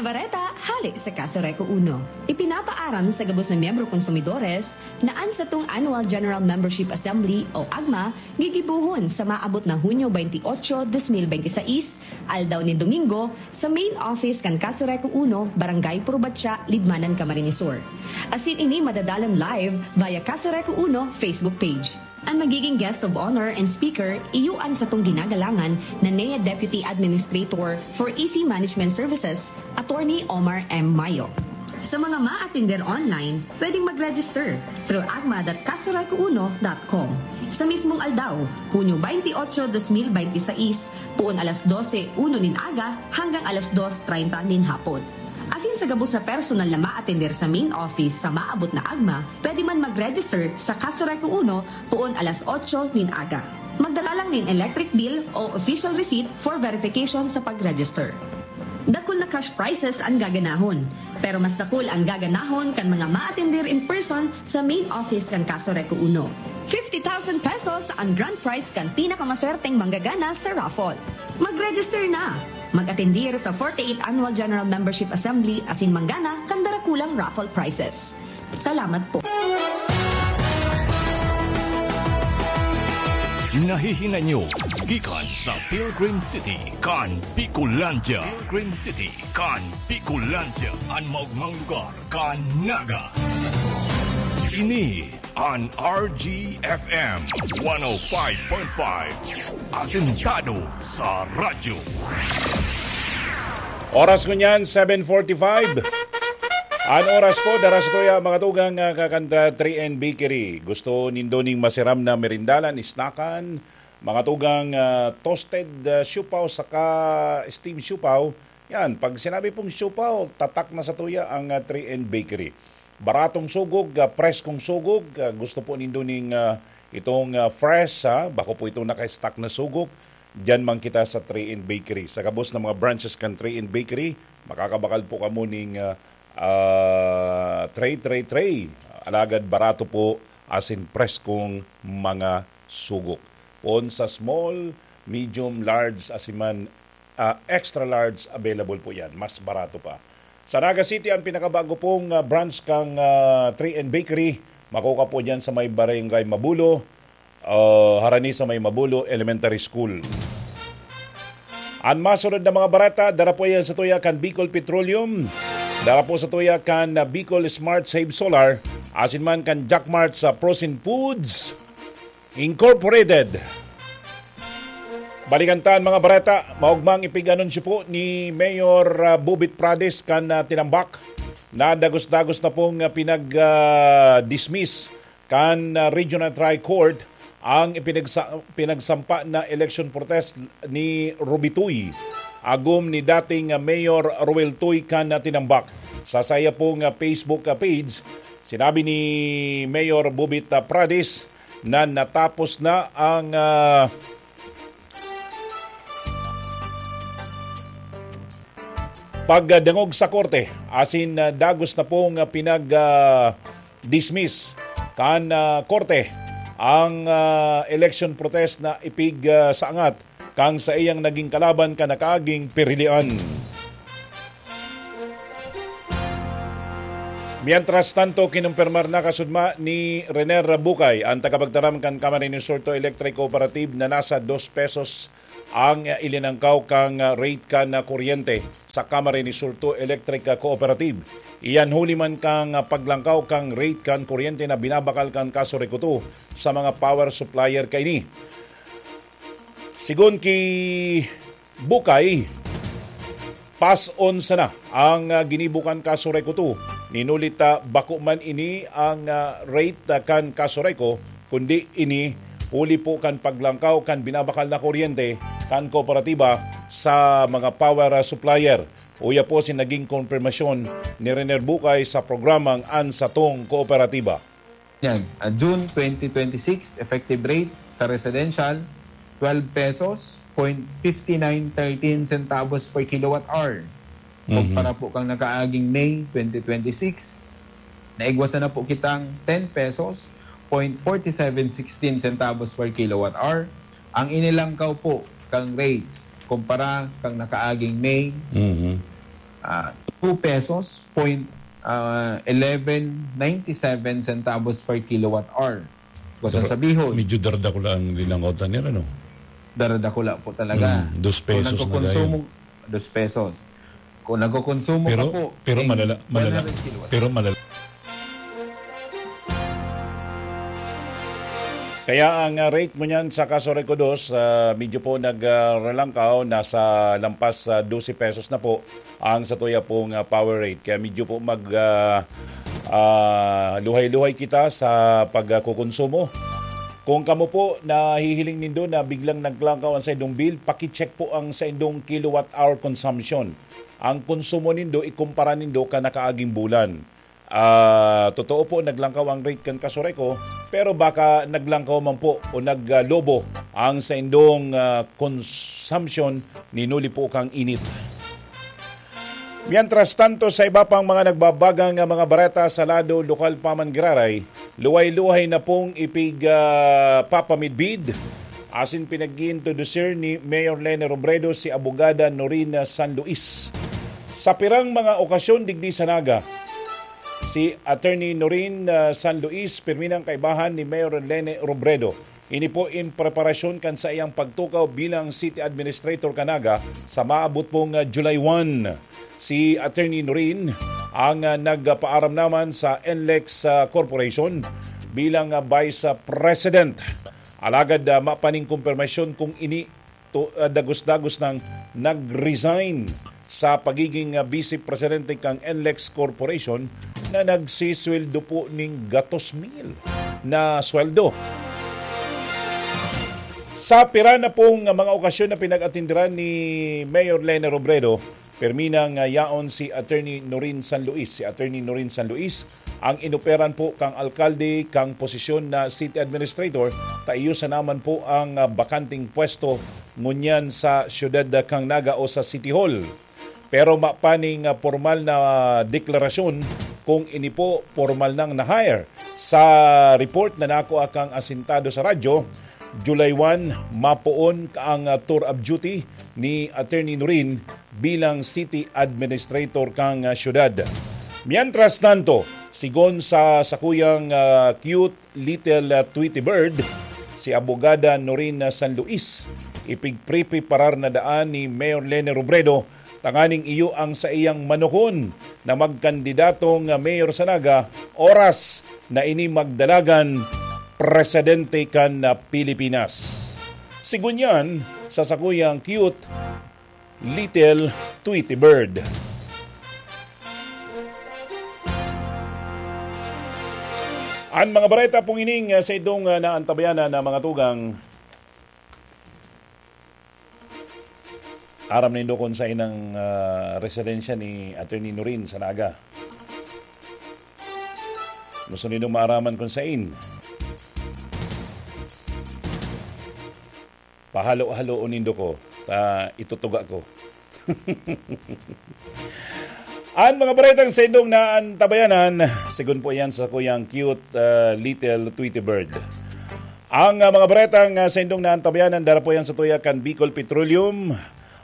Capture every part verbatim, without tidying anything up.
Bareta hale sa Kaso Reco Uno. Ipinapaaram sa gabos na miyembro konsumidores na an satong Annual General Membership Assembly o AGMA gigibohon sa maabot na Hunyo twenty-eight, twenty twenty-six, aldaw nin Domingo, sa main office kan Kaso Reco Uno, Barangay Purbatya, Libmanan, Camarines Sur. Asin ini madadalan live via Kaso Reco Uno Facebook page. An magiging guest of honor and speaker, iyo an satong ginagalangan na N E A Deputy Administrator for E C Management Services, Attorney Omar M. Mayo. Sa mga maatender online, pwedeng mag-register through agma dot kasoreco uno dot com. Sa mismong aldaw, Hunyo twenty-eight, twenty twenty-six, poon alas dose uno nin aga hanggang alas dos treinta nin hapon. Asin sa gabos na personal na maatender sa main office sa maabot na agma, pwede man mag-register sa Kaso Reco Uno poon alas otso nin aga. Magdala lang nin electric bill o official receipt for verification sa pag-register. Dakul na cash prizes an gaganahon, pero mas dakul an gaganahon kan mga maatender in person sa main office kan Kaso Reco Uno. Fifty thousand pesos an grand prize kan pinakamaswerteng manggagana sa raffle. Mag-register na! Mag-atendir sa forty-eighth Annual General Membership Assembly asin manggana kan darakulang raffle prizes. Salamat po. Nahihinay nyo gikan sa Pilgrim City kan Bicolandia. Pilgrim City kan Bicolandia, an maogmang lugar kan Naga. Ini an R G F M one oh five point five, asentado sa radyo. Oras ngunyan, seven forty-five. An oras po, dara sa tuya, mga tugang, ah, kakanta three N Bakery. Gusto nindo ning masiram na merindalan, isnakan, mga tugang, ah, toasted, ah, siopao saka steam siopao. Yan, pag sinabi pong siopao, tatak na sa tuya ang, ah, three N Bakery. Baratong sugog, ah, preskong sugog, ah, gusto po nindo ning, ah, itong, ah, fresh, ha? Bako po itong naka-stock na sugog. Diyan man kita sa three N Bakery. Sa gabos na mga branches kan three N Bakery, makakabakal po kamo ning, ah, ah, tray, tray, tray. Alagad barato po asin preskong mga sugok. Poon sa small, medium, large, asin man, ah, extra large, available po yan. Mas barato pa. Sa Naga City, ang pinakabago pong, ah, branch kang, ah, three N Bakery. Makukuha po dyan sa may Barangay Mabulo, ah, harani sa may Mabulo Elementary School. An masunod na mga bareta, dara po yan sa tuya kan Bicol Petroleum, dara po sa tuya kan, ah, Bicol Smart Save Solar, asin man kan Jackmart sa Frozen Foods Incorporated. Balikan ta an mga bareta, maogmang ipig-anunsyo po ni Mayor, ah, Bobit Prades kan, ah, Tinambak na dagos-dagos na pong, ah, pinag, ah, dismiss kan, ah, Regional Trial Court ang ipinagsa-, pinagsampa na election protest ni Ruby Tuy, agom ni dating, ah, Mayor Roel Tuy kan, ah, Tinambak. Sa saya pong, ah, Facebook, ah, page, sinabi ni Mayor Bobit, ah, Prades na natapos na ang, ah, pagdangog sa korte, asin, ah, dagos na pong, ah, pinag, ah, dismiss kan, ah, korte ang, ah, election protest na ipig, ah, saangat kan saiyang naging kalaban kan nakaaging pirilian. Mientras tanto, kinumpirmar na kasudma ni Rener Bukay, ang tagapagtaram kan Camarines Sur Two Electric Cooperative, na nasa dos pesos ang ilinangkaw kang rate kan kuryente sa Camarines Sur Two Electric Cooperative. Iyan huli man kang paglangkaw kang rate kan kuryente na binabakal kan Kaso Recoto sa mga power supplier kaini. Sigon ki Bukay, pas-on sana ang, ah, ginibo kan Kaso Recoto. Ninulit ta bako man ini ang, ah, rate, ah, kan Kaso Reco, kundi ini huli po kan paglangkaw kan binabakal na kuryente kan kooperatiba sa mga power, ah, supplier. Uya po si naging konfirmasyon ni Rener Bukay sa programang An Satong Kooperatiba. Yan, ah, June twenty twenty-six, effective rate sa residential, twelve pesos, point fifty nine thirteen centavos per kilowatt hour. Kumpara po kang nakaaging May twenty twenty-six, naigwasan na po kitang ten pesos, point forty seven sixteen centavos per kilowatt hour. Ang inilangkaw po kang rates kumpara kang nakaaging May, Mhm. ah, two pesos point, ah, eleven ninety-seven centavos per kilowatt hour. Gusto Pero sabihon, medyo darada ko lang din ang kota nila, no? Darada ko lang po talaga. Mm, dos pesos na nagkukonsumo, gayon. Dos pesos. Kung nagkukonsumo ka Pero, po, pero ng malala-, malala-, one hundred kilowatt. pero malala-, Kaya ang, ah, rate mo niyan sa Casureco dos, ah, medyo po nag, ah, ralangkaw, nasa lampas sa dose pesos na po ang satuya pong, ah, power rate. Kaya medyo po mag, ah, ah, luhay-luhay kita sa pagkukonsumo. Kung kamo po nahihiling nindo na biglang naglangkaw ang saindong bill, paki-check po ang saindong kilowatt hour consumption. Ang konsumo nindo, ikumpara nindo kan nakaaging bulan. Ah, totoo po, naglangkaw ang rate kan Casureco, pero baka naglangkaw man po o naglobo ang saindong, ah, consumption ni nuli po kang init. Mientras tanto, sa iba pang mga nagbabagang, ah, mga bareta sa lado lokal pa man giraray, luhay-luhay na pong ipig, ah, papamidbid asin pinag-iintrodusir ni Mayor Lene Robredo si Abogada Noreen San Luis. Sa pirang mga okasyon digdi sa Naga, si Attorney Noreen, ah, San Luis, pirmi nang kaibahan ni Mayor Lene Robredo. Ini po in preparasyon kan saiyang pagtukaw bilang City Administrator kan Naga sa maabot pong, ah, July one. Si Attorney Noreen ang, ah, nagpaaram naman sa N L E X, ah, Corporation bilang, ah, Vice, ah, President. Alagad, ah, mapaning kumpirmasyon kung ini to, ah, dagos-dagos nang nag-resign sa pagiging, ah, Vice Presidente kan N L E X Corporation na nagsisweldo po ning gatos mil na sweldo. Sa pira na pong, ah, mga okasyon na pinag-atindiran ni Mayor Lene Robredo, pirmi nang, ah, yaon si Attorney Noreen San Luis. Si Attorney Noreen San Luis ang inoperan po kang alkalde kang posisyon na city administrator, ta iyo sana man po ang, ah, bakanting pwesto ngunyan sa siyudad, ah, kang Naga o sa City Hall. Pero mapaning, ah, pormal na deklarasyon kung ini po pormal nang na-hire. Sa report na nakuha kang asintado sa radyo, July one, mapoon ang, ah, tour of duty ni Attorney Noreen bilang city administrator kang, ah, syudad. Mientras tanto, sigon sa sakuyang, ah, cute little, ah, Tweety Bird, si Abogada Noreen San Luis, ipigpreparar na daan ni Mayor Lene Robredo tanganing iyo ang saiyang manukon na magkandidatong, ah, mayor sa Naga, oras na ini magdalagan presidente kan, ah, Pilipinas. Sigunyan sa sakuyang cute little Tweety Bird. An mga bareta pong ining, ah, sa idong, ah, naantabayanan na mga tugang, aram nindo kung sain ang, ah, residensya ni Attorney Noreen sa Naga. Gusto nindo maaraman kung sain? Pahalo-haloon nindo ko, ta itutuga ko. Ang mga baretang sa indong naantabayanan, sigon po yan sa kuyang cute, ah, little Tweety Bird. Ang, ah, mga baretang, ah, sa indong naantabayanan, dara po yan sa tuya kan Bicol Petroleum,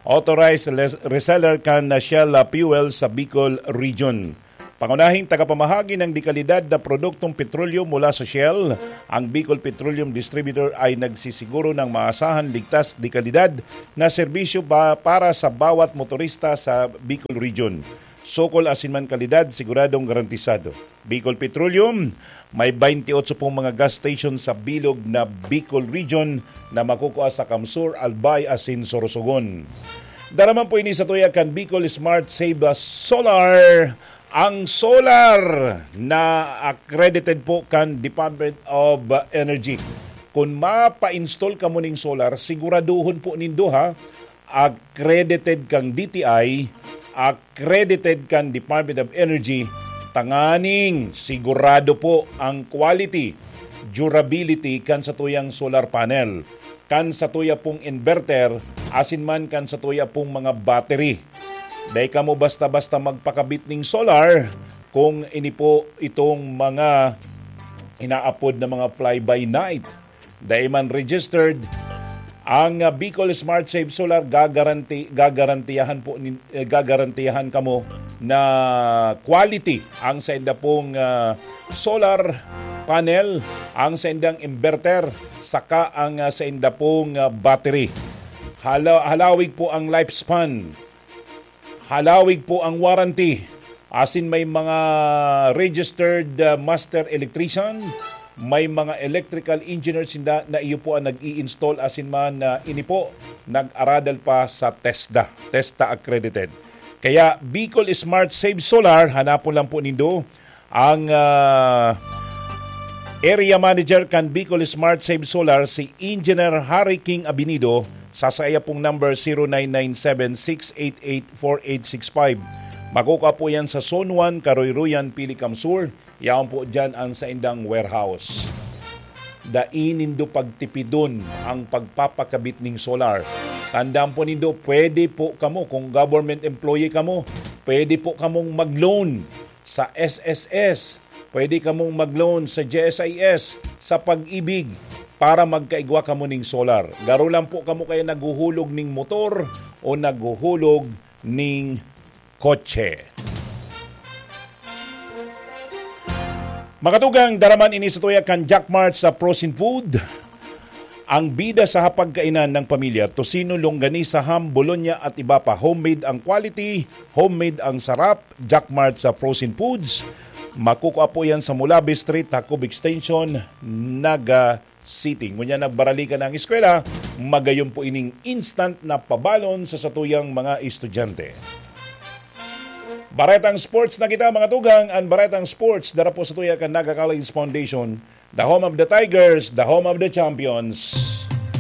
authorized les-, reseller kan, ah, Shell, ah, Fuel sa Bicol Region. Pangunahing tagapamahagi ng dekalidad na produktong petrolyo mula sa Shell, ang Bicol Petroleum Distributor ay nagsisiguro ng maasahan, ligtas, dekalidad na serbisyo ba para sa bawat motorista sa Bicol Region. Sukol asin man kalidad, siguradong garantisado. Bicol Petroleum, may twenty-eight pong mga gas station sa bilog na Bicol Region na makukua sa Kamsur, Albay asin Sorsogon. Dara man po ini sa tuya kan Bicol Smart Save Solar. Ang solar na accredited po kan Department of Energy. Kung mapa-install kamo ning solar, siguraduhon po nindo ha, accredited kang D T I, accredited kan Department of Energy, tanganing sigurado po ang quality, durability kan satuyang solar panel, kan satuya pong inverter, asin man kan satuya pong mga battery. Dai kamo basta-basta magpakabit ning solar kung ini po itong mga inaapod na mga fly-by-night. Dai man registered Ang, ah, Bicol Smart Save Solar gagaranti-, gagarantiyahan po nin-, eh, gagarantiyahan kamo na quality ang sainda pong, ah, solar panel, ang saindang inverter, saka ang, ah, sainda pong, ah, battery. Hala-, halawig po ang lifespan. Halawig po ang warranty. Asin may mga registered, ah, master electrician, may mga electrical engineer sinda na iyo po ang nag-i-install asin man, ah, ini po nag-aradal pa sa TESDA, TESDA accredited. Kaya Bicol Smart Save Solar, hanapon lang po nindo ang, ah, area manager kan Bicol Smart Save Solar, si Engineer Harry King Abinido, sa saya pong number, zero nine nine seven six eight eight four eight six five. Makukuha po yan sa Zone one, Karoyroyan, Pilicam Sur. Yaon po dyan ang saindang warehouse. Dai nindo pagtipidon ang pagpapakabit ning solar. Tandaan po nindo, pwede po kamo, kung government employee kamo, pwede po kamong mag-loan sa S S S. Pwede kamong mag-loan sa G S I S, sa Pag-ibig, para magkaigwa kamo ning solar. Garo lang po kamo kaya naghuhulog ning motor o naghuhulog ning kotse. Makatugang, daraman ini sa tuya kan Jack Mart sa frozen food. Ang bida sa hapagkainan ng pamilya, tocino, longganisa, ham, bologna at iba pa. Homemade ang quality, homemade ang sarap. Jack Mart sa frozen foods. Makukuha po yan sa Mulabe Street, Jacob Extension, Naga City. Ngunyan nagbarali ka ng eskwela, magayon po ining instant na pabalon sa satuyang mga estudyante. Baretang Sports na kita, mga tugang. Ang Baretang Sports, dara po sa tuya kan Naga College Foundation, the home of the Tigers, the home of the champions.